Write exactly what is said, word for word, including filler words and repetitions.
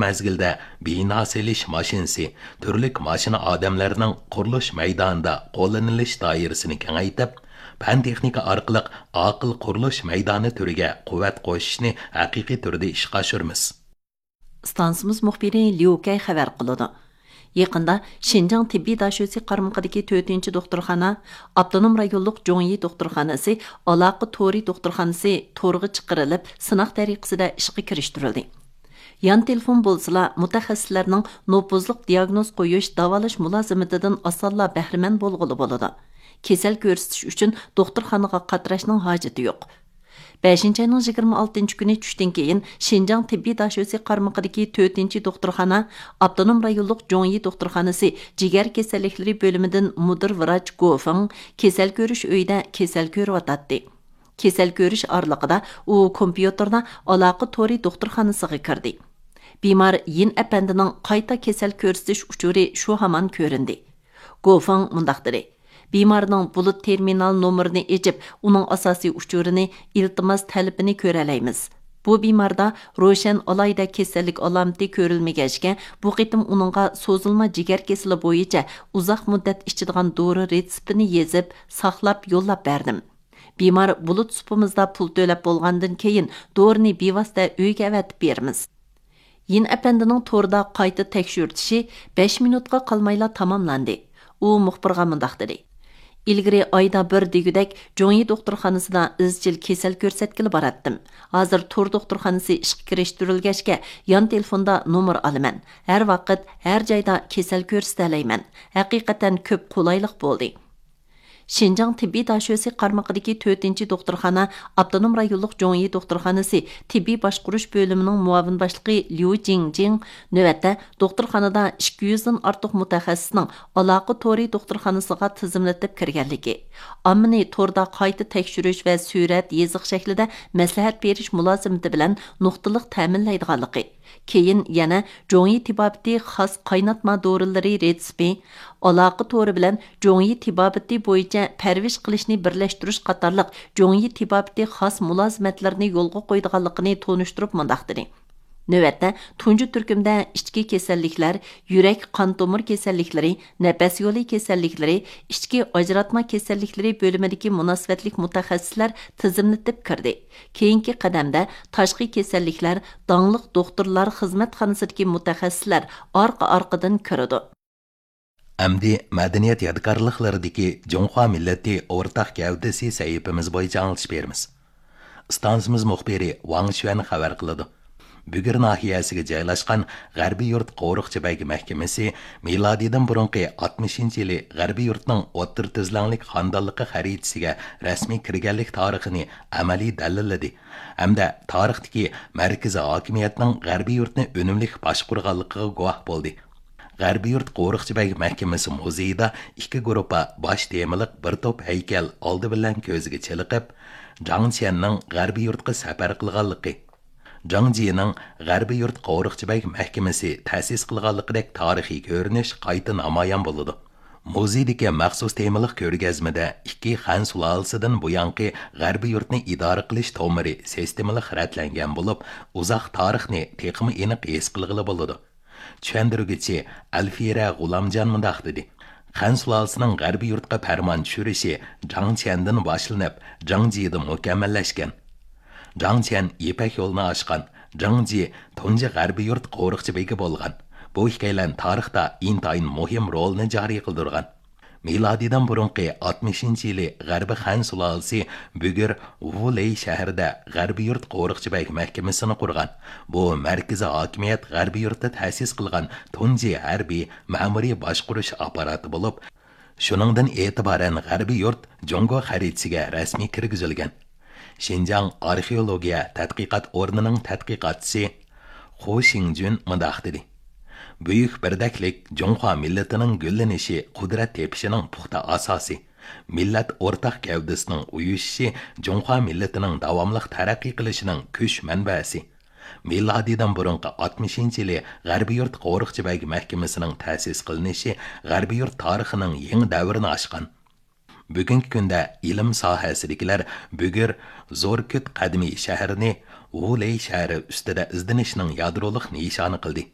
مەزگىلدە بىنا سېلىش ماشىنىسى، تۈرلۈك ماشىنا ئادەملەرنىڭ قۇرۇلۇش مەيدانىدا قوللىنىلىش دائىرىسىنى كېڭەيتىپ، پەن تېخنىكا ئارقىلىق ئاقىل قۇرۇلۇش مەيدانى تۈرىگە قۇۋۋەت قوشۇشنى ھەقىقىي تۈردە ئىشقا ئاشۇرىمىز. ئىستانسىمىز مۇخبىرى ليۇ كەي خەۋەر قىلىدۇ. يېقىندا شىنجاڭ تېببىي داشۆسى قارمىقىدىكى تۆتىنچى دوختۇرخانا، ئاپتونوم رايونلۇق جوڭيى دوختۇرخانىسى ئالاقە تورى دوختۇرخانىسى تورغا چىقىرىلىپ، سىناق تەرىقىسىدە ئىشقا كىرىشتۈرۈلدى. يان تېلېفون بولسىلا، مۇتەخەسسىسلەرنىڭ نوپۇزلۇق دىياگنوز قويۇش، داۋالاش مۇلازىمىتىدىن ئاسانلا بەھرىمەن بولغىلى بولىدۇ. كېسەل كۆرسىتىش ئۈچۈن دوختۇرخانىغا قاتراشنىڭ ھاجىتى يوق. بەشىنچى ئاينىڭ يىگىرمە ئالتىنچى كۈنى چۈشتىن كېيىن، شىنجاڭ تېببىي داشۆسى قارمىقىدىكى تۆتىنچى دوختۇرخانا، ئاپتونوم رايونلۇق جوڭيى دوختۇرخانىسى جىگەر كېسەللىكلىرى بۆلۈمىدىن مۇدىر ۋراچ گو فېڭ كېسەل كۆرۈش ئۆيىدە كېسەل كۆرۈۋاتاتتى. كېسەل كۆرۈش ئارىلىقىدا ئۇ كومپيۇتېردا ئالاقە تورى دوختۇرخانىسىغا كىردى. بىمار يىن ئەپەندىنىڭ قايتا كېسەل كۆرسىتىش ئۇچۇرى شۇ ھامان كۆرۈندى. گو فېڭ مۇنداق دېدى: بىمارنىڭ بۇلۇت تېرمىنال نومۇرىنى ئېچىپ، ئۇنىڭ ئاساسىي ئۇچۇرىنى، ئىلتىماس تەلىپىنى كۆرەلەيمىز. بۇ بىماردا روشەن ئالاھىدە كېسەللىك ئالامىتى كۆرۈلمىگەچكە، بۇ قېتىم ئۇنىڭغا سوزۇلما جىگەر كېسىلى بويىچە ئۇزاق مۇددەت ئىچىدىغان دورا رېتسېپىنى يېزىپ، ساقلاپ يوللاپ بەردىم. بىمار بۇلۇت سۇپىمىزدا پۇل تۆلەپ بولغاندىن كېيىن، دورىنى بىۋاسىتە ئۆيگە ئەۋەتىپ بېرىمىز. يىن ئەپەندىنىڭ توردا قايتا تەكشۈرتۈشى بەش مىنۇتقا قالمايلا تاماملاندى. ئۇ مۇخبىرغا مۇنداق دېدى: ئىلگىرى ئايدا بىر دېگۈدەك جوڭيى دوختۇرخانىسىدا ئىزچىل كېسەل كۆرسەتكىلى باراتتىم. ھازىر تور دوختۇرخانىسى ئىشقا كىرىشتۈرۈلگەچكە، يان تېلېفوندا نومۇر ئالىمەن. ھەر ۋاقىت، ھەر جايدا كېسەل كۆرسىتەلەيمەن. ھەقىقەتەن كۆپ قولايلىق بولدى. شىنجاڭ تېببىي داشۆسى قارمىقىدىكى تۆتىنچى دوختۇرخانا، ئاپتونوم رايونلۇق جوڭيى دوختۇرخانىسى تېببىي باشقۇرۇش بۆلۈمىنىڭ مۇئاۋىن باشلىقى ليۇ جىڭجىڭ نۆۋەتتە دوختۇرخانىدا ئىككى يۈزدىن ئارتۇق مۇتەخەسسىسنىڭ ئالاقە تورى دوختۇرخانىسىغا تىزىملىتىپ كىرگەنلىكى، ئاممىنى توردا قايتا تەكشۈرۈش ۋە سۈرەت يېزىق شەكلىدە مەسلىھەت بېرىش مۇلازىمىتى بىلەن نۇقتىلىق تەمىنلەيدىغانلىقى، كېيىن يەنە جوڭيى تېبابىتى خاس قايناتما دورىلىرى رېتسېپى، ئالاقە تورى بىلەن جوڭيى تېبابىتى بويىچە پەرۋىش قىلىشنى بىرلەشتۈرۈش قاتارلىق جوڭيى تېبابىتى خاس مۇلازىمەتلىرىنى يولغا قويىدىغانلىقىنى تونۇشتۇرۇپ مۇنداق دېدى: نۆۋەتتە، تۇنجى تۈركۈمدە ئىچكى كېسەللىكلەر، يۈرەك، قان تومۇر كېسەللىكلىرى، نەپەس يولى كېسەللىكلىرى، ئىچكى ئاجراتما كېسەللىكلىرى بۆلۈمىدىكى مۇناسىۋەتلىك مۇتەخەسسىسلەر تىزىملىتىپ كىردى. كېيىنكى قەدەمدە تاشقى كېسەللىكلەر، داڭلىق دوختۇرلار خىزمەتخانىسىدىكى مۇتەخەسسىسلەر ئارقا-ئارقىدىن كىرىدۇ. ئەمدى مەدەنىيەت يادىكارلىقلىرىدىكى جۇڭخۇا مىللىتى ئورتاق گەۋدىسى سەھىپىمىز بويىچە ئاڭلىتىش بېرىمىز. ئىستانسىمىز مۇخبىرى ۋاڭ شۈەن خەۋەر قىلىدۇ. بۈگۈر ناھىيەسىگە جايلاشقان غەربىي يۇرت قورۇقچى بەگ مەھكىمىسى مىلادىدىن بۇرۇنقى ئاتمىشىنچى يىلى غەربىي يۇرتنىڭ ئوتتۇرا تۈزلەڭلىك خانىدانلىقى خەرىتىسىگە رەسمىي كىرگەنلىك تارىخىنى ئەمەلىي دەلىللىدى ھەمدە تارىختىكى مەركىزىي ھاكىمىيەتنىڭ غەربىي يۇرتنى ئۈنۈملۈك باشقۇرغانلىقىغا گۇۋاھ بولدى. غەربىي يۇرت قورۇقچى بەگ مەھكىمىسى مۇزېيىدا ئىككى گۇرۇپپا باش تېمىلىق بىر توپ ھەيكەل ئالدى بىلەن كۆزگە چېلىقىپ، جاڭ چيەننىڭ غەربىي يۇرتقا سەپەر قىلغانلىقى، جاڭ جىنىڭ غەربىي يۇرت قورۇقچى بەگ مەھكىمىسى تەسىس قىلغانلىقىدەك تارىخىي كۆرۈنۈش قايتا نامايان بولىدۇ. مۇزېيدىكى مەخسۇس تېمىلىق كۆرگەزمىدە ئىككى خەن سۇلالىسىدىن بۇيانقى غەربىي يۇرتنى ئىدارە قىلىش تومۇرى سىستېمىلىق رەتلەنگەن بولۇپ، ئۇزاق تارىخنى تېخىمۇ ئېنىق ھېس قىلغىلى بولىدۇ. چۈشەندۈرگۈچى ئەلفىرە غۇلامجان مۇنداق دېدى: خەن سۇلالىسىنىڭ غەربىي يۇرتقا پەرمان چۈشۈرۈشى جاڭ چيەندىن باشلىنىپ، جاڭ جىدا مۇكەممەللەشكەن. جاڭ چيەن يىپەك يولىنى ئاچقان، جاڭ جى تۇنجى غەربىي يۇرت قورۇقچى بېگى بولغان. بۇ ئىككىيلەن تارىختا ئىنتايىن مۇھىم رولنى جارى قىلدۇرغان. مىلادىدىن بۇرۇنقى ئاتمىشىنچى يىلى غەربىي خەن سۇلالىسى بۈگۈر ۋۇلېي شەھىرىدە غەربىي يۇرت قورۇقچى بەگ مەھكىمىسىنى قۇرغان. بۇ مەركىزىي ھاكىمىيەت غەربىي يۇرتتا تەسىس قىلغان تۇنجى ھەربىي مەمۇرىي باشقۇرۇش ئاپپاراتى بولۇپ، شۇنىڭدىن ئېتىبارەن غەربىي يۇرت جۇڭگو خەرىتىسىگە رەسمىي كىرگۈزۈلگەن. شىنجاڭ ئارخېئولوگىيە تەتقىقات ئورنىنىڭ تەتقىقاتچىسى خۇ شىڭجۈن مۇنداق دېدى: بۈيۈك بىردەكلىك جۇڭخۇا مىللىتىنىڭ گۈللىنىشى، قۇدرەت تېپىشىنىڭ پۇختا ئاساسى، مىللەت ئورتاق گەۋدىسىنىڭ ئۇيۇشۇشى جۇڭخۇا مىللىتىنىڭ داۋاملىق تەرەققىي قىلىشىنىڭ كۈچ مەنبەسى. مىلادىدىن بۇرۇنقى ئاتمىشىنچى يىلى غەربىي يۇرت قورۇقچى بەگ مەھكىمىسىنىڭ تەسىس قىلىنىشى غەربىي يۇرت تارىخىنىڭ يېڭى دەۋرىنى ئاچقان. بۈگۈنكى كۈندە ئىلىم ساھەسىدىكىلەر بۈگۈر زوركۈت قەدىمىي شەھىرىنى ۋۇلېي شەھىرى ئۈستىدە ئىزدىنىشنىڭ يادرولۇق نىشانى قىلدى.